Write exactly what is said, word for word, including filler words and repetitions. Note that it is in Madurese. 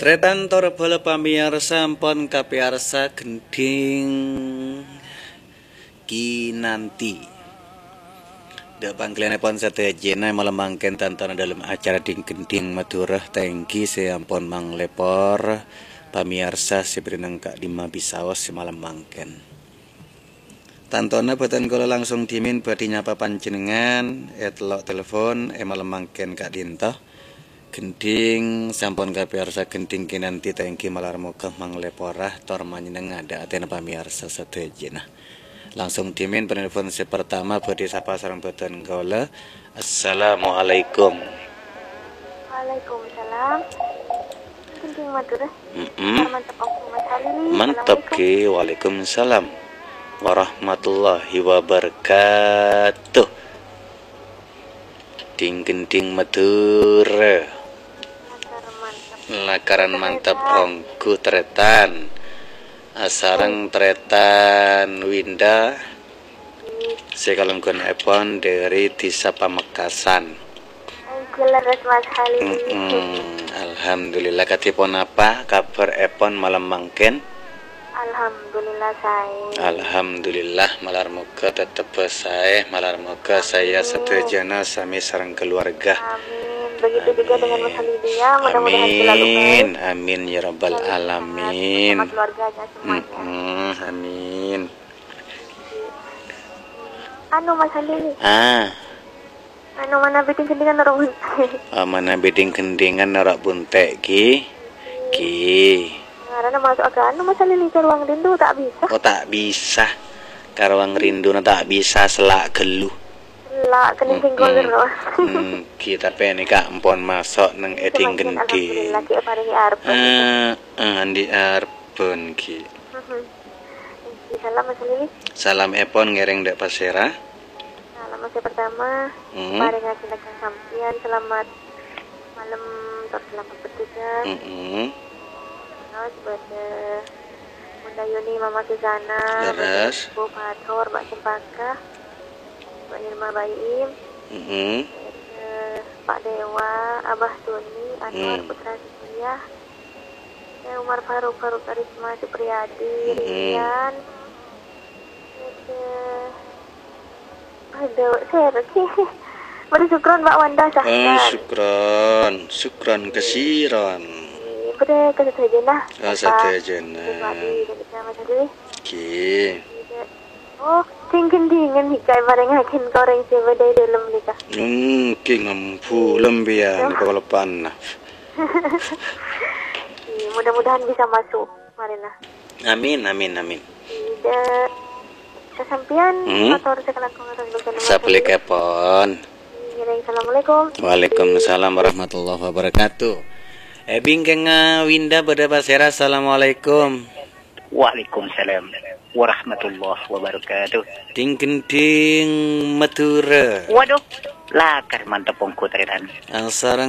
Tarètan tor bhâlâ pamèyarsa ampon kapèyarsa Gendhing Kinanti. Dâ' pangghâliyânèpon sadhâjâna malem mangkèn tantona dâlem acara Ding-Gendhing Madhurâ ta' èngghi sè ampon manglèpor pamèyarsa sè bâdâ neng ka'dimma bisaos sè malem mangkèn. Tantona bhâdhân kaulâ langsung dhimèn bhâdhi nyapa panjhennengngan è tello' telepon è malem mangkèn ka'dinto. Gendhing sampon kapèyarsa Gendhing Kinanti ta' èngghi malar moghâ manglèpora tor manyennengnga dâ' atèna pamèyarsa sadhâjâna. Langsung dhimèn penelpon sè pertama bhâdhi sapa sareng bhâdhân kaulâ. Assalamualaikum. Waalaikumsalam. Gendhing Madhurâ. Mm-mm. Mantep, Om Mas Halili. Mantep, Assalamualaikum. Ki. Waalaikumsalam warahmatullahi wabarakatuh. Ding-gending Madhurâ. Lakar mantep. Lakaran mantep, Tarètan. Ongghu tarètan. Asareng tarètan Winda. Sè kalangghunèpon dâri Dhisa Pamekasan. Jelas, Mas Halil. Mm-mm. Alhamdulillah. Kadhi ponapa kabhârèpon malem mangkèn? Alhamdulillah, saè. Alhamdulillah, malar moghâ tettebbhâ saè, malar moghâ saèya sadhâjâna sami sareng keluarga. Amin. Begitu juga dengan Mas Halil, ya. Mudah-mudahan selalu baik. Amin, amin, ya rabbal alamin. Bersama keluarganya semuanya. Mm-mm, amin. Anu, Mas Halil. Ah. Anu, manabi ding-gendingan noro' bunte'. Ah, manabi ding-gendingan noro' bunte', Ki. Ki. Ngarana masuk ke anu, Mas Halil, ke ruang rindu, tak bisa. Oh, tak bisa. Ka ruang rinduna tak bisa, sella' ghâllu. Sella', kènèng sèngko' terros. Hmm, Ki, tapè nèka ampon maso' neng è ding-gending. Alhamdulillah, Ki, parèngè arep. Eh, eh, andi' arep, Ki. Mhm. Salam, Mas Lili. Salamèpon ngèrèng dâ' pasèra? Salam, Mas, yang pertama, hmm, parèngaghi ka sampèyan, selamat malem, tor selamat bertugas. Mm-mm. Terros bâdâ Bunda Yuni, Mama Susana, bâdâ leres. Ibu Fathur, Mbak Cempaka, Mbak Nirma Baim, mm-mm, bâdâ Pak Dewa, Abah Tuni, Anwar, hmm, Putra Setia, eh, Umar Faruk, Faruk Karisma Supriyadi, mm-mm, Rian. Terros, eh, aduh, sèra, Ki. Bâdâ Sukron, Mbak Wanda, Sahkan. Eh, Sukron. Sukron kasiron. Eh, bâdâ ka sadhâjâna. Ka sadhâjâna. Supriyadi, dan Mas Adi. Ki. Oh, ding-gendingan nèka èparèngaghi ka orèng sè bâdâ è dâlem nèka. Hmm, Ki, ngambu lempèyan, iya, kalopanna. Iya, mudah-mudahan bisa masuk, Marina. Amin, amin, amin. Ida, ka sampèyan, hmm, mator sakalangkong atas basa nama. Sapulikapon. Iya, assalamualaikum. Waalaikumsalam warahmatullahi wabarakatuh. Eh, bingkèngnga Winda bâdâ pasèra, assalamualaikum. Waalaikumsalam warahmatullahi wabarakatuh. Ding-gending Madhurâ. Waduh, lakar mantep ongghu tarètan. Asareng